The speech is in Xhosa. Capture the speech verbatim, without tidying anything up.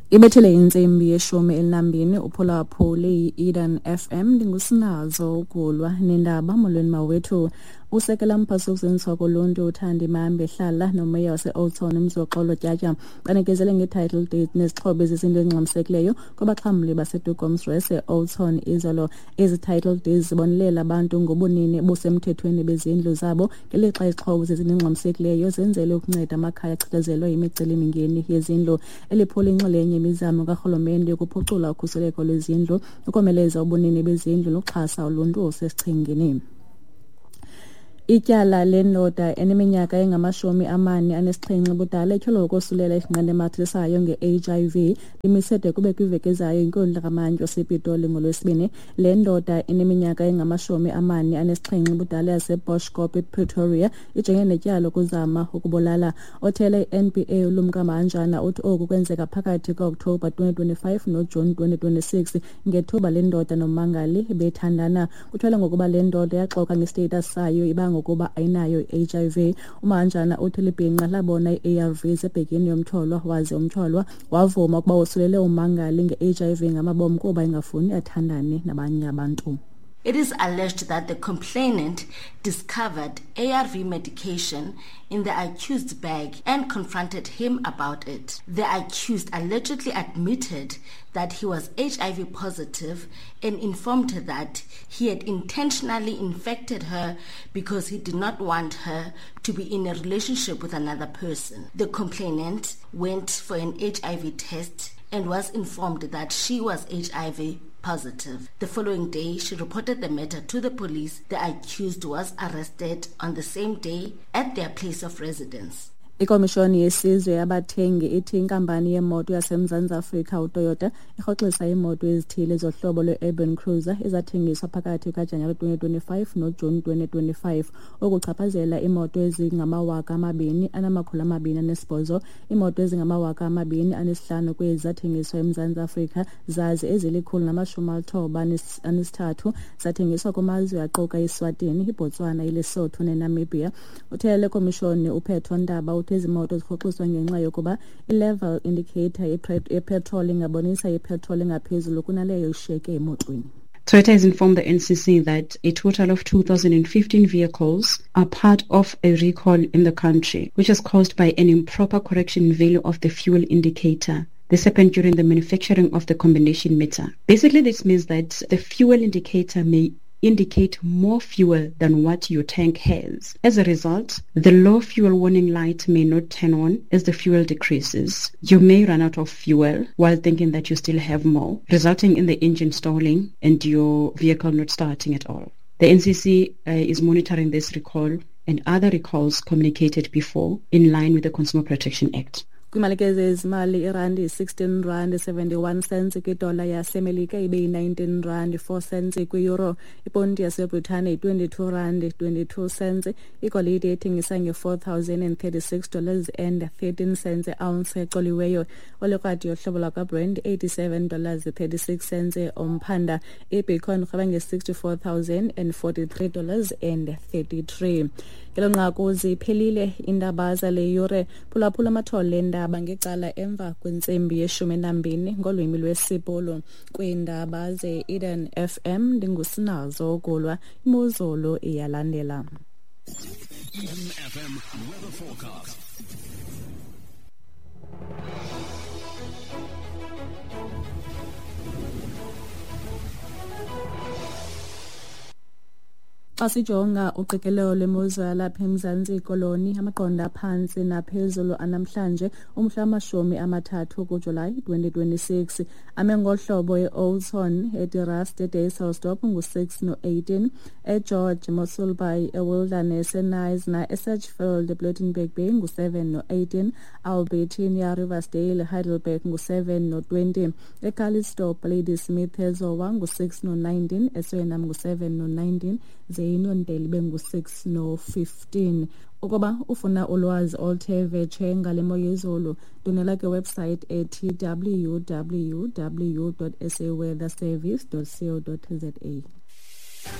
Ibethele intsimbi yeshumi elinambini uphulaphule i-Eden F M. Ndingusinazo Ugulwa nendaba. Molweni mawethu. Usekela mphathi wokuzinziswa koluntu uThandi Mambe Hlala nomeya wase-Oudtshoorn uMzoxolo Tyatya banikezele nge-title deed nezixhobo ezizinto ezingxamisekileyo kwabaxhamli baseDukomsres e-Oudtshoorn izolo. Ezi title deeds zibonelela abantu ngobunini obusemthethweni bezindlu zabo, ngelixa izixhobo zezinto ezingxamisekileyo zenzelwe ukunceda amakhaya achatshazelwe yimicelimingeni yezindlu. Eli phulo inxalenye yemizamo karhulumente yokuphucula ukhuseleko lwezindlu, ukomeleza ubunini bezindlu nokuxhasa uluntu osesichengeni. Ityala lendoda eneminyaka engamashumi amane anesixhenxe ubudala etyholwa ngokosulela isinqandamathe sayo nge-H I V limise de kube kwiveki ezayo inkundla kamantyi wasePitoli ngoLwesibini. Le ndoda eneminyaka engamashumi amane anesixhenxe ubudala yaseBoschkop ePretoria ijongene netyala lokuzama ukubulala. Othele i-N P A uLumka Mahanjana uthi oku kwenzeka phakathi kukaOkthobha twenty twenty-five noJuni twenty twenty-six ngethuba le ndoda nommangali bethandana. Kuthwele ngokuba le ndoda yaxoka ngestatus sayo ibanga ngokuba ayinayo i-H I V. UMahanjana uthi libhinqa labona i-A R Vs ebhegini yomtyholwa, waze umtyholwa wavuma ukuba wosulele ummangali nge-H I V ngamabomu kuba engafuni athandane nabanye abantu. It is alleged that the complainant discovered A R V medication in the accused's bag and confronted him about it. The accused allegedly admitted that he was H I V positive and informed her that he had intentionally infected her because he did not want her to be in a relationship with another person. The complainant went for an H I V test and was informed that she was H I V positive. The following day, she reported the matter to the police. The accused was arrested on the same day at their place of residence. Ikomishoni yesizwe yabathengi ithi inkampani yemoto yaseMzantsi Afrika uToyota irhoxisa iimoto ezithile zohlobo lwe-Urban Cruiser ezathengiswa phakathi kukaJanuwari twenty twenty-five noJuni twenty twenty-five, okuchaphazela iimoto ezingamawaka amabini anamakhulu amabini anesibhozo. Iimoto ezingamawaka amabini anesihlanu kwezi zathengiswa eMzantsi Afrika, zaze ezilikhulu namashumi alithoba anesithathu zathengiswa kumazwe aquka iSwatini, iBotswana, iLesotho neNamibia. Uthele le komishoni uPhetho Ndaba ezi moto zirhoxiswa ngenxa yokuba i-level indicator yepetroli ingabonisa ipetroli engaphezulu kunaleyo ishiyeke emotweni. Toyota has informed the N C C that a total of two thousand fifteen vehicles are part of a recall in the country, which is caused by an improper correction value of the fuel indicator. This happened during the manufacturing of the combination meter. Basically, this means that the fuel indicator may indicate more fuel than what your tank has. As a result, the low fuel warning light may not turn on as the fuel decreases. You may run out of fuel while thinking that you still have more, resulting in the engine stalling and your vehicle not starting at all. The N C C uh, is monitoring this recall and other recalls communicated before in line with the Consumer Protection Act. Kwimalike zezimali, irandi yi-sixteen rand seventy-one cents kwidola yaseMelika, ibe yi-nineteen rand four cents kwi-euro. Iponti yaseBritane yi-twenty-two rand twenty-two cents. Igolide ethengisa nge-four thousand and thirty-six dollars and thirteen cents ounce ecoliweyo. Olikrwadi yohlobo lwakwaBrent eighty-seven dollars thirty-six cents umphanda. Ibitcoin irhweba nge-sixty-four thousand and forty-three dollars and thirty-three. Ngelo nqaku ziphelile iindaba zale yure. Phulaphula amathole endaba ngecala emva kwentsimbi yeshumi nambini ngolwimi lwesiBhulu. Kwiindaba ze-Eden F M ndingusinazo Ugulwa. Imozulu iyalandela. Eden F M weather forecast. Xa sijonga uqikelelo lwemozulu yalapha eMzantsi Koloni, amaqondo aphantsi naphezulu anamhlanje umhla wamashumi amathathu kuJulayi twenty twenty-six ame ngohlobo e-Oudtshoorn, eDerust, eDysselsdorp ngu-six no-eighteen, eGeorge, Mossel Bay, eWilderness, eKnysna, eSedgefield, ePlettenberg Bay ngu-seven no-eighteen, Albertinia, Riversdale, Heidelberg ngu-seven no-twenty, eCalitzdorp, Ladysmith, eZowa ngu-six no-nineteen, eSuriname ngu-seven no-nineteen, Inondeli bengu-six no-fifteen. Ukuba ufuna ulwazi oluthe vetshe ngale mo yezulu, ndwendwela kwiwebsite ethi w w w dot s a weather service dot co dot za.